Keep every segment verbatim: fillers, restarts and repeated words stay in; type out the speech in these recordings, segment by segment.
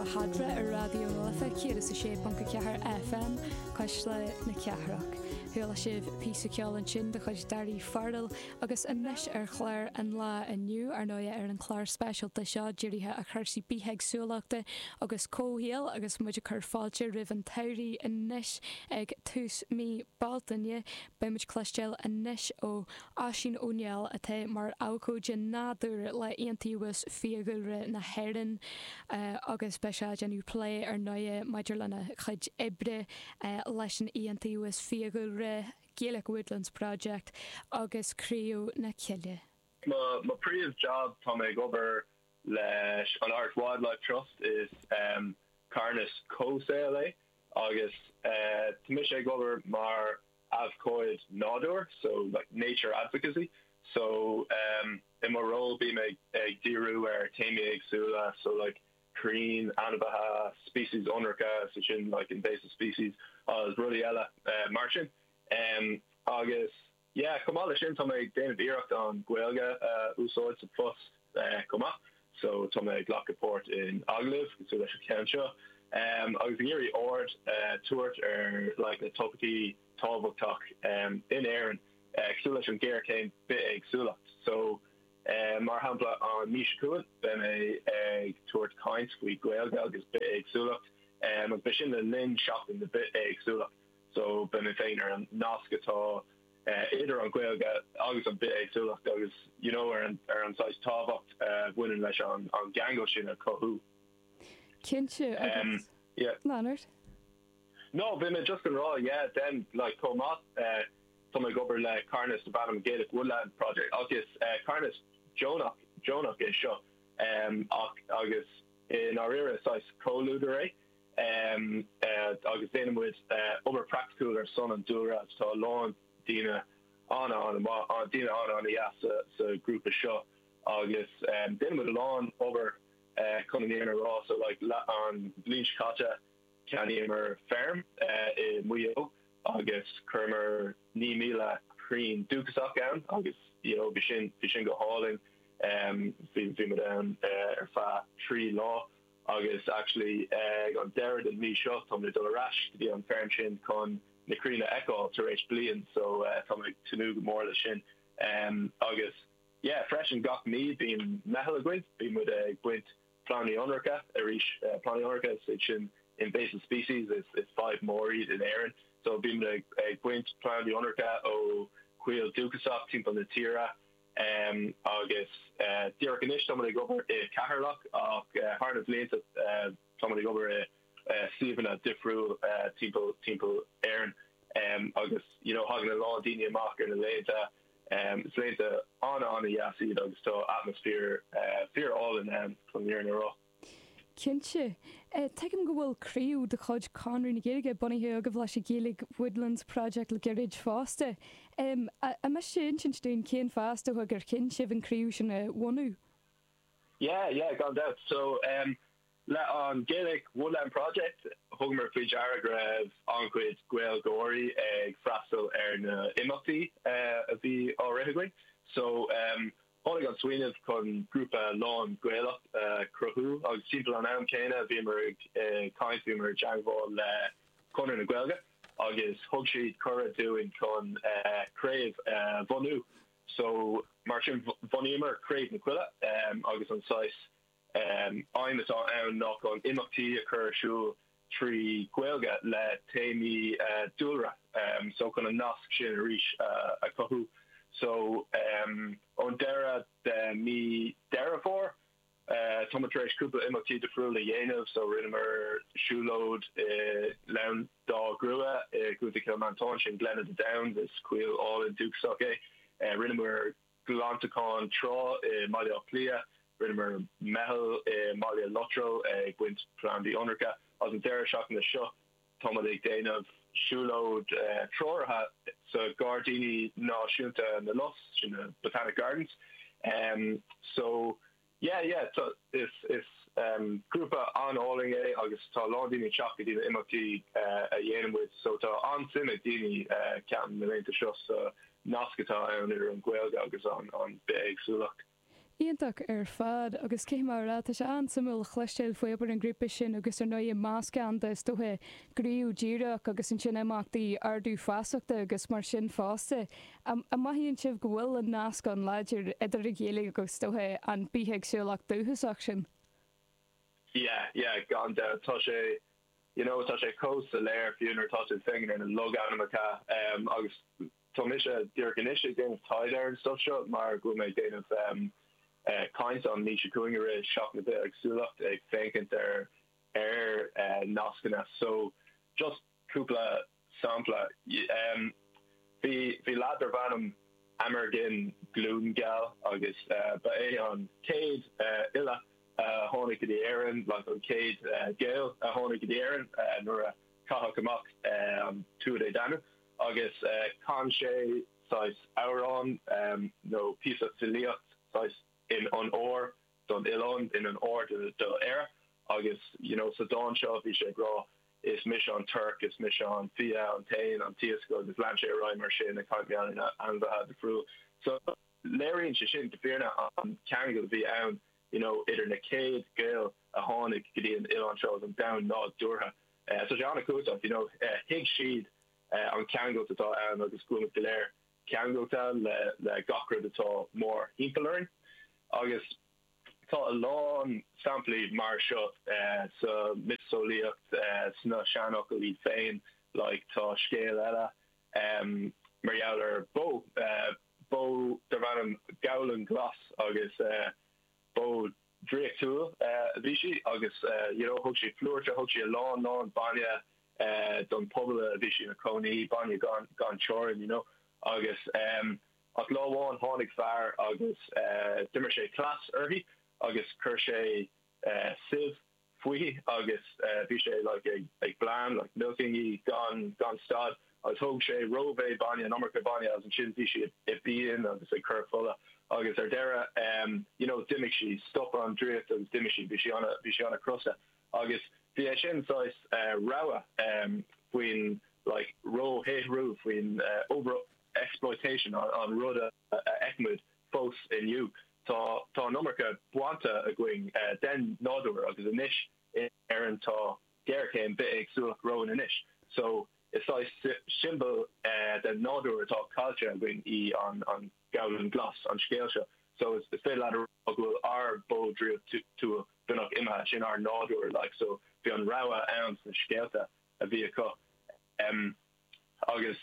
Eadra ar Raidió na Life céad is a sé ponc a ceathair FM Cuisle na Cathrach. Chuala sibh píosa ceoil ansin de chuid Daoirí Farrell agus anois ar chlár an lae inniu ar ndóigh ar an chlár speisialta seo dírithe ar chúrsaí bithéagsúlachta agus comhshaoil agus muid ag cur fáilte roimh an tsamhradh anois ag tús mí Bealtaine beimid ag cloisteáil anois ó Oisín Ó Néill atá mar abhcóide nádúir le Iontaobhas Fiadhúlra na hÉireann agus beidh sé ag déanamh plé ar ndóigh maidir lena chuid oibre leis an Iontaobhas Fiadhúlra Gaelic Woodlands Project agus Craobh na Cille. Mo mo príomh job tá mé ag obair leis an Irish Wildlife Trust is um, carthanas comhshaoil é agus uh, tá mise ag obair mar abhcóide nádúir so like nature advocacy so um, in mo ról bím ag ag díriú ar téamaí éagsúla so like crainn ainmhithe species ionracha so sin like invasive species agus rudaí eile uh, mar sin um, agus yeah chomh maith leis sin tá mé ag déanamh iarracht an Ghaeilge uh, úsáid sa phost uh, chomh maith so tá mé ag glacadh páirt in agallaimh cosúil leis an ceann seo um, agus ag iarraidh aird uh, tabhairt ar like na topaicí tábhachtach um, in Éirinn uh, cosúil leis an géarchéim bithéagsúlacht so uh, mar shampla an mhí seo chugainn beidh mé ag tabhairt caint faoi Ghaeilge agus bithéagsúlacht um, agus beidh sin le linn seachtain na bithéagsúlacht so beidh mé féin ar an nasc atá uh, idir an Ghaeilge agus an bithéagsúlacht agus you know ar an ar an saghas tábhacht uh, bhaineann leis an an gceangal sin a chothú. Cinnte Um, yeah. Leonard? No, bhí mé just an rá yeah then like chomh maith uh, tá mé ag obair le carthanas darb ainm Gaelic Woodland Project agus uh, carthanas deonach deonach é seo um, ach, agus in áirithe saghas comhluadar é um, uh, agus déanaimid uh, obair praiticiúil ar son an dúlra tá lán daoine an an an daoine an an sa, sa grúpa seo agus um, déanaimid a lán obair uh, chun an fhírinne a rá so like, la, an bhliain seo caite cheannaíomar feirm uh, i Maigh Eo agus chuireamar naoi míle crann dúchasach ann agus you know bhí sin bhí sin go hálainn um bhí bhí muid ann uh, ar feadh trí lá agus actually ag uh, an deireadh den mí seo tá mé dul ar ais go dtí an feirm sin chun na crainn a fheiceáil tar éis bliain so uh, tá mé tnúth go mór leis sin um, agus yeah freisin gach mí bíonn meitheal againn bíonn muid ag baint plandaí ionracha arís uh, plandaí ionracha is sin invasive species is is fadhb mór iad in Éirinn so bíonn ag, ag baint plandaí ionracha ó choill dúchasach timpeall na tíre um, agus uh, díreach anois tá ag obair i Ceatharlach ach uh, thar na blianta uh, tá ag obair i uh, suíomhanna difriúil uh, timpeall timpeall Éirinn um, agus you know thagann a lán daoine amach ar na laethanta um, is laethanta an an-deas iad agus tá atmaisféar uh, fíorálainn ann chun an fhírinne a rá. Cinnte. Tuigim go bhfuil craobh de chuid Chonradh na Gaeilge bunaithe agaibh leis an Gaelic Woodlands Project le gairid fosta. Um, an miste insint dúinn cén fáth gur chinn sibh an craobh sin a bhunú? Yeah, yeah, gan dabht. So um, le an Gaelic Woodland Project thugamar faoi deara go raibh an-chuid Gaeilgeoirí ag freastal ar na imeachtaí uh, a bhí á rith againn. So um, tháinig an smaoineamh chun grúpa lán Gaelach uh, cruthú agus timpeall an am céanna bhíomar ag uh, caint bhíomar i dteagmháil le Conradh na Gaeilge agus thug siad cuireadh dúinn chun uh, craobh uh, bhunú. So mar sin bhunaíomar Craobh na Coille um, agus an saghas um, aidhm atá ann ná chun imeachtaí a chur ar siúl trí Ghaeilge le téamaí uh, dúlra um, so chun an nasc sin arís uh, a chothú. So um, ón deireadh de mí Deireadh Fómhair uh, tá tar éis cúpla imeachtaí difriúil a dhéanamh so rinneamar siúlóid uh, Ghleann Dá Ghrua i gContae Chill Mhantáin sin Glen of the Downs is coill álainn dúchasach é. Uh, rinneamar glantachán trá i mBaile Átha Cliath, rinneamar meitheal i mBaile Lotrail ag baint plandaí ionracha agus an deireadh seachtaine seo tá ag déanamh siúlóid uh, treoraithe sa Gairdíní Náisiúnta na Lus sin na Botanic Gardens. Um, so yeah, yeah, so is is um, grúpa an-álainn é agus tá lán daoine teacht go dtí na imeachtaí uh, a dhéanaimid so tá an-suim ag daoine uh, ceapaim na laethanta seo sa nasc atá ann idir an Ghaeilge agus an an bithéagsúlacht. Iontach ar fad agus cé mar tá sé an-suimiúil cloisteáil faoi obair an grúpa sin agus ar ndóigh meascán de is dóiche gníomh díreach agus ansin imeachtaí ardú feasachta agus mar sin fosta. An mothaíonn sibh go bhfuil an nasc an-láidir idir an Ghaeilge agus is dóiche an bithéagsúlacht dúchasach sin? Yeah, yeah, gan dabht tá sé you know tá sé chomh soiléir fiú nuair atá tú ag féachaint ar na logainmneacha um, agus tá mise díreach anois ag déanamh taighde ar an stuff seo mar go bhfuil mé ag déanamh um, uh, caint an mhí seo chugainn i rith Seachtain na Bithéagsúlachta ag féachaint ar ar uh, nascanna so just cúpla sampla um, bhí bhí lad darbh ainm Amergin Glúngeal agus uh, ba é an céad uh, fhile uh, tháinig go dtí Éirinn like an céad uh, Gael a tháinig go dtí Éirinn uh, nuair a caitheadh amach um, Tuatha Dé Danann agus uh, chan sé saghas amhrán um, nó píosa filíocht saghas in onóir don oileán in onóir do, do Éire agus you know, sa dán seo bhí sé ag rá is mise an torc is mise an fia an t-éan an t-iasc agus lean sé ar aghaidh mar sin ag caint ar ainmhithe difriúil. So léiríonn sé sin go fírinne an ceangal a bhí ann you know, idir na céad Gael a tháinig go dtí an oileán seo an domhan nádúrtha. Uh, so sé an-chumhachtach you know, uh, thuig siad uh, an ceangal atá ann agus go bhfuil go léir ceangailte le le gach rud atá mór thimpeall orainn. Agus tá a lán samplaí mar seo uh, sa miotaseolaíocht uh, sna seanfhocail iad féin like tá scéal eile um, mar gheall ar bó uh, bó darb ainm Gabhlan Glas agus uh, bó draíochtúil uh, a bhí sí agus uh, you know, thug sí plúr thug sí a lán lán bainne uh, don pobal a bhí sí ina cónaí bainne gan gan teorainn you know agus um, ach lá amháin tháinig fear agus uh, d'imir sé cleas uirthi agus chuir sé uh, sieve fúithi agus uh, bhí sé like, ag, ag bleán like, milking í gan gan stad agus thóg sé rómhéid bainne an iomarca bainne agus ansin bhí sí i bpian agus ag cur fola agus ar deireadh um, you know, d'imigh sí stop an draíocht agus d'imigh sí bhí sí bhí sí an-chrosta agus bhí é sin saghas uh, rabhadh um, faoin like róshaothrú faoin uh, over exploitation an, an rud a fheicimid fós inniu. Tá tá an iomarca bainte againn uh, den nádúr agus anois in Éirinn tá géarchéim bithéagsúlacht romhainn anois. So is saghas siombail uh, den nádúr atá caillte againn í an an Gabhlan Glas an scéal seo. So is is féidir le go bhfuil ár bó draíochtúil beagnach imithe sin ár nádúr like so bhí an rabhadh ann sna scéalta a bhí acu. Um, agus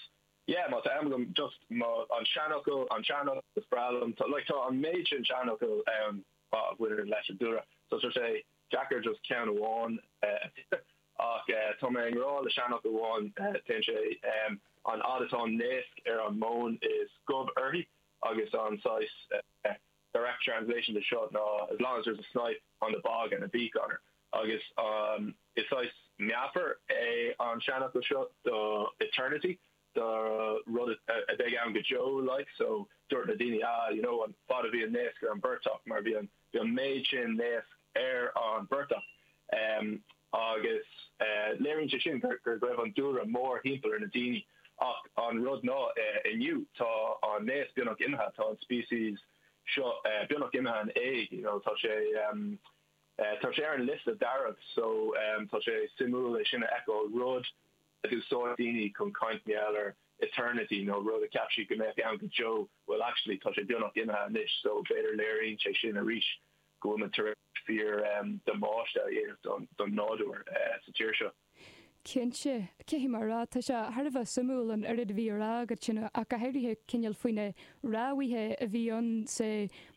yeah, má tá am agam just má an seanfhocal an seanfhocal is breá liom like tá an méid sin seanfhocal um, a bhaineann leis an dúlra so so sé deacair just ceann amháin uh, ach uh, tá mé i ngrá le seanfhocal amháin uh, téann sé um, an fhad atá naosc ar an móin is gob uirthi agus an saghas uh, direct translation de seo ná as long as there's a snipe on the bog and a beak on her agus um, is saghas meafar é an seanfhocal seo do eternity do rud a bheidh ann go deo like so dúirt na daoine ah you know an fad a bhí an naosc ar an bportach mar bhí an bhí an méid sin naosc ar an bportach um, agus uh, léiríonn sé sin gur gur raibh an dúlra mór thimpeall ar na daoine ach an rud ná uh, inniu tá an naosc beagnach imithe tá an species seo uh, beagnach imithe in éag you know tá sé um, uh, tá sé ar an liosta dearg so um, tá sé suimiúil é sin a fheiceáil rud a d'úsáid daoine chun caint ar eternity nó rud a cheap siad go mbeadh ann go deo well actually tá sé beagnach imithe anois so b'fhéidir léiríonn sé sin arís go bhfuil tar fíor um, damáiste a dhéanamh don, don nádúr uh, sa tír seo. Cinnte cé mar rá tá sé thar a bheith suimiúil an oiread a bhí á rá agat sin ach go háirithe cineál faoi na rabhaidh a bhí ann sa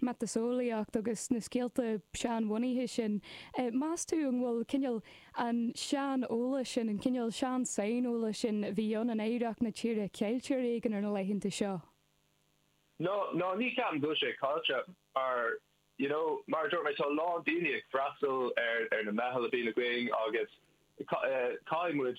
mhiotaseolaíocht agus na scéalta seanbhunaithe sin. Meas tú an bhfuil cineál an sean-eolas sin an cineál sean-saineolas sin a bhí ann in oidhreacht na tíre caillte ar éigean ar na laethanta seo? No, no ní ceapaim go bhfuil sé caillte mar you know, mar dúirt mé tá lán daoine ag freastal ar ar na meithil a bhíonn againn agus caithfidh muid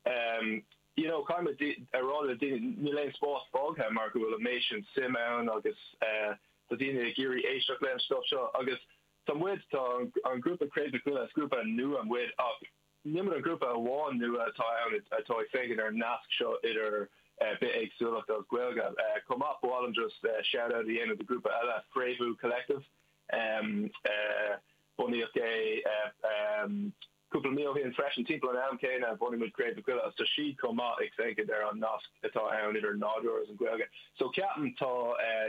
um, you know, caithfidh muid a rá le daoine níl aon spás fágtha mar go bhfuil an méid sin suim ann agus uh, tá daoine ag iarraidh éisteacht leis an stuff seo agus tá muid tá an grúpa Craobh na Coille is grúpa nua muid ach ní muid an grúpa amháin nua atá ann atá ag féachaint ar an nasc seo idir uh, bithéagsúlacht agus Gaeilge. Uh, Chomh maith ba mhaith liom just uh, shout out a dhéanamh do grúpa eile Fréamhú Collective. Bunaíodh é cúpla mí ó shin freisin, timpeall an am céanna a bhunaigh muid Craobh na Coille agus tá siad chomh maith ag féachaint ar an nasc atá ann idir nádúr agus an Ghaeilge. So ceapaim tá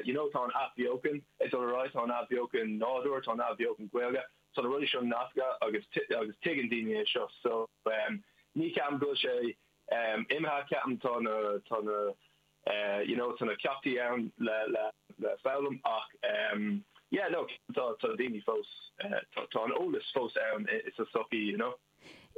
you know tá an athbheochan ag dul ar aghaidh, tá an athbheochan nádúr, tá an athbheochan Gaeilge, tá na rudaí seo nasctha agus agus tuigeann daoine é seo. So ní cheapaim go bhfuil sé imithe, ceapaim tá na tá na you know tá na ceachtaí ann le le le foghlaim ach yeah no tá tá daoine fós tá tá an eolas fós ann sa sochaí you know.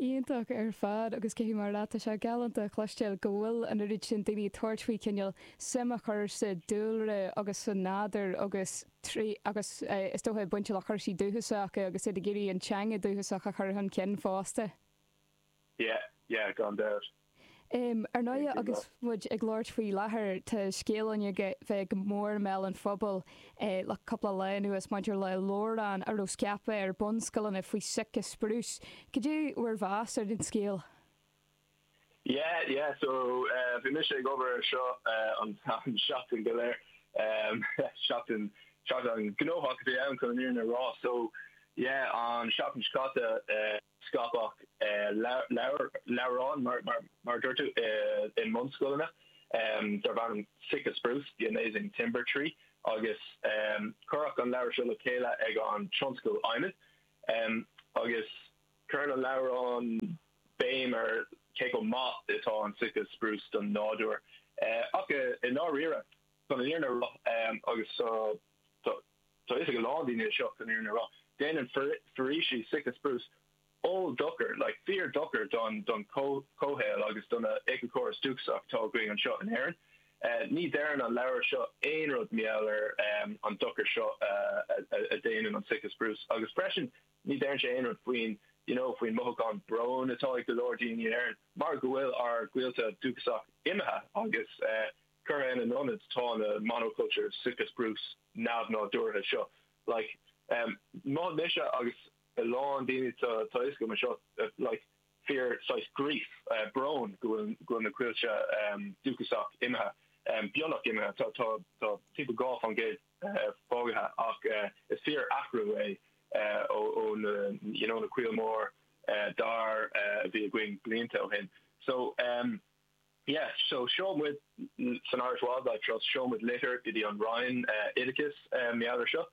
Iontach ar fad agus cé mar tá sé galánta cloisteáil go bhfuil an oiread sin daoine ag tabhairt faoi cineál suim a chur sa dúlra agus sa nádúr agus trí agus is dócha baint le cúrsaí dúchasacha agus iad ag iarraidh an teanga dúchasach a chur chun cinn fosta. Yeah, yeah, gan dabht. Um, ar ndóigh agus muid ag labhairt faoi láthair tá scéal ann ag bheith go mór i mbéal an phobail eh, le cúpla lá anuas maidir le leabhrán a raibh scaipthe ar bunscoileanna faoi Sitka spruce. Cad é bhur meas ar an scéal? Yeah, yeah, so uh, bhí mise ag obair seo uh, an, an seachtain go léir um, seachtain seachtain gnóthach a bhí ann chun an fhírinne a rá so yeah an seachtain seo caite uh, scaipeadh uh, leabhrán mar mar mar dúirt tú uh, i mbunscoileanna um, darb ainm Sitka Spruce, the Amazing Timber Tree agus um, cuireadh an leabhar seo le chéile ag an tionscal adhmaid um, agus cuireann an leabhrán béim ar cé chomh maith atá an Sitka Spruce don nádúr. Uh, ach i ndáiríre chun an fhírinne a rá um, agus so tá is go lán daoine seo chun an fhírinne a rá. Déanann foraoisí Sitka Spruce oll-dochar, like fíor-dochar don don comhshaol agus don éiceachóras dúchasach atá againn anseo in Éirinn. Uh, ní deireann an leabhar seo aon rud mar gheall ar um, an dochar seo uh, a, a déanann an Sitka Spruce agus freisin ní deireann sé aon rud faoin you know, faoin mothúchán bróin atá ag go leor daoine in Éirinn mar go bhfuil ár gcoillte dúchasach imithe agus uh, curtha ina n-ionad tá na monoculture Sitka Spruce neamhnádúrtha seo. Like, um, má mise agus a lán daoine tá tá go seo like fíor saghas grief uh, brón go bhfuil go bhfuil na coillte um, dúchasach imithe um, beagnach imithe tá tá tá timpeall dhá faoin gcéad uh, fágtha ach uh, is fíor athrú é uh, ó ó na you know na coill mór uh, dar uh, bhí againn blianta ó shin so um, yeah so sheol muid san Irish Wildlife Trust sheol muid litir go dtí an Roinn uh, Oideachais um, mar seo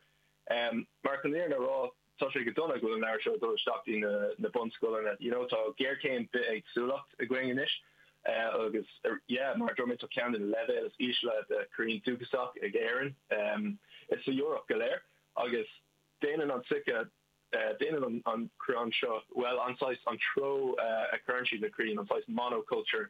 um, mar chun a rá tá sé go dona go bhfuil an leabhar seo dul isteach na na bunscoileanna you know tá géarchéim bithéagsúlacht againn anois uh, agus uh, yeah mar dúirt mé tá ceann de na leibhéil is ísle de crainn dúchasach ag Éirinn um, is sa Eoraip go léir agus déanann an Sitka uh, déanann an, an crann seo well an saghas an treo uh, a chuireann siad na crainn an saghas monoculture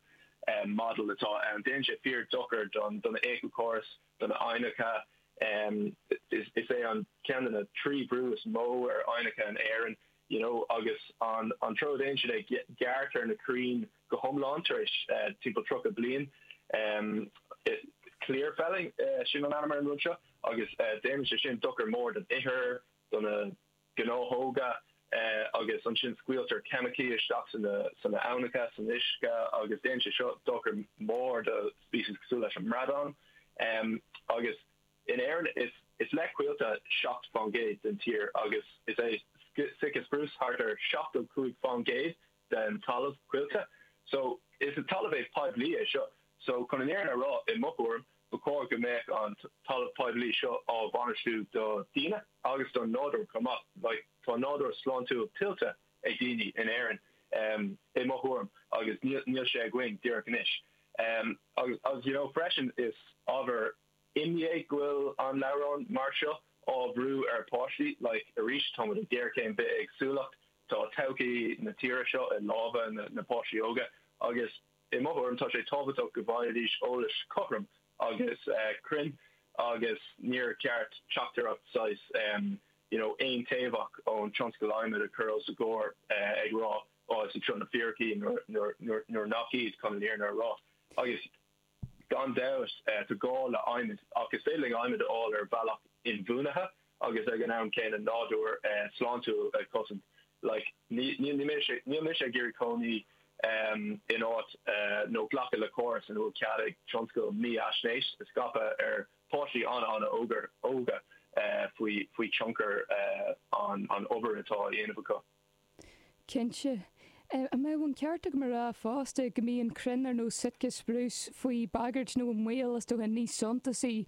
um, model atá an déanann sé fíor dochar don don éiceachóras don aibhneacha um, is, is é an ceann de na trí brú is mó ar aibhneacha in Éirinn you know agus an an treo déanann siad é gearrtar na crainn go hiomlán tar éis uh, timpeall tríocha bliain um, clear felling uh, sin an ainm ar an rud seo agus uh, déanann sé sin dochar mór don ithir don na gnáthóga uh, agus ansin scaoiltear ceimicí isteach san san aibhneacha san uisce agus déanann sé seo dochar mór do species cosúil leis an mbradán um, agus in Éirinn is is le coillte seacht faoin gcéad den tír agus is é Sitka spruce thart ar seachtó cúig faoin gcéad den talamh coillte. So is an talamh é poiblí é seo. So chun an fhírinne a rá i mo thuairim ba chóir go mbeadh an talamh poiblí seo á bhainistiú do daoine agus don nádúr chomh maith like, tá nádúr sláintiúil tuillte ag daoine in Éirinn um, i mo thuairim agus níl sé againn díreach anois. Um, agus, agus you know, freisin is ábhar imní é go bhfuil an leabhrán mar seo á bhrú ar páistí like arís tá ag géarchéim bithéagsúlacht tá todhchaí na tíre seo i lámha na, na páistí óga agus i mo thuairim tá sé tábhachtach go bhfaighidís eolas cothrom agus uh, cruinn agus níor cheart teachtaireacht saghas um, you know, aontaobhach ón tionscal adhmaid a chur os a gcomhair uh, ag rá ó is seo na fíricí nuair nach iad chun an fhírinne a rá agus gan dabht uh, tá gá le adhmad ach is féidir adhmad a fháil ar bhealach inbhuanaithe agus ag an am céanna nádúr uh, sláintiúil a chosaint like níl mise ag iarraidh cónaí um, in áit uh, nó glacadh le córas ina bhfuil cead ag tionscal mífhaisnéis a scaipeadh ar páistí an an ógar óga faoi faoi tionchar an an obair atá á dhéanamh acu. Cinnte. An mbeadh an ceart agam a rá fosta go mbíonn crainn ar nós Sitka spruce faoi bagairt nó i mbaol is dócha níos suntasaí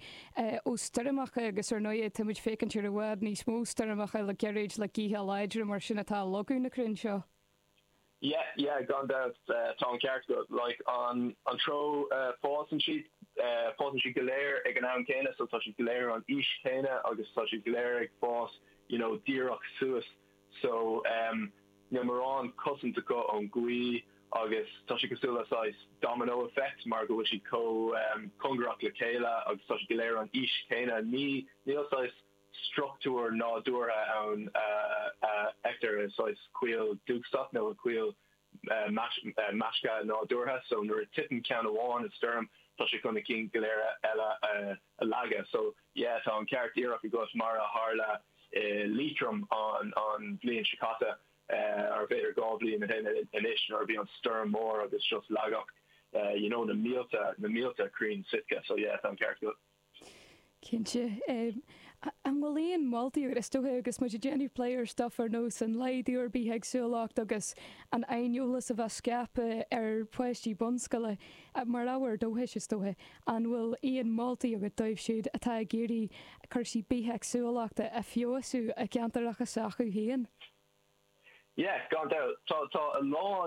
ó stoirmeacha agus ar ndóigh tá muid féachaint ar i bhfad níos mó stoirmeacha le gairid le gaotha láidre mar sin atá ag leagadh na crainn seo. Yeah, yeah, gan dabht tá an ceart agat. Like an an treo fásann siad fásann siad go léir ag an am céanna so tá siad go léir an aois céanna agus tá siad go léir ag fás you know díreach suas so um, níl mórán cosaint acu ón gaoth agus tá sé cosúil le saghas domino effect mar go bhfuil siad chomh um, cóngarach le chéile agus tá siad go léir an aois céanna ní níl saghas struchtúr nádúrtha ann uh, uh, feictear i saghas coill dúchasach nó coill uh, measctha nádúrtha so nuair a titeann ceann amháin i stoirm tá sé chun na cinn go léir eile uh, a leagadh so yeah tá an ceart díreach agat mar a tharla uh, Liatroim an an bhliain seo caite ar b'fhéidir dhá bhliain anois nuair a bhí an stoirm mór agus just leagadh uh, you know na mílte na mílte crainn Sitka so yeah tá an ceart agat. Cinnte an bhfuil aon mholtaí is dócha agus muid ag déanamh plé ar stuff ar nós an laghdú ar bithéagsúlacht agus an aineolas a bheith scaipthe ar pháistí bunscoile mar ábhar dóchais is dócha an bhfuil aon mholtaí agat dóibh siúd atá ag iarraidh cúrsaí bithéagsúlachta a fheabhsú i gceantracha s'acu féin. Yeah, gan dabht tá tá a lán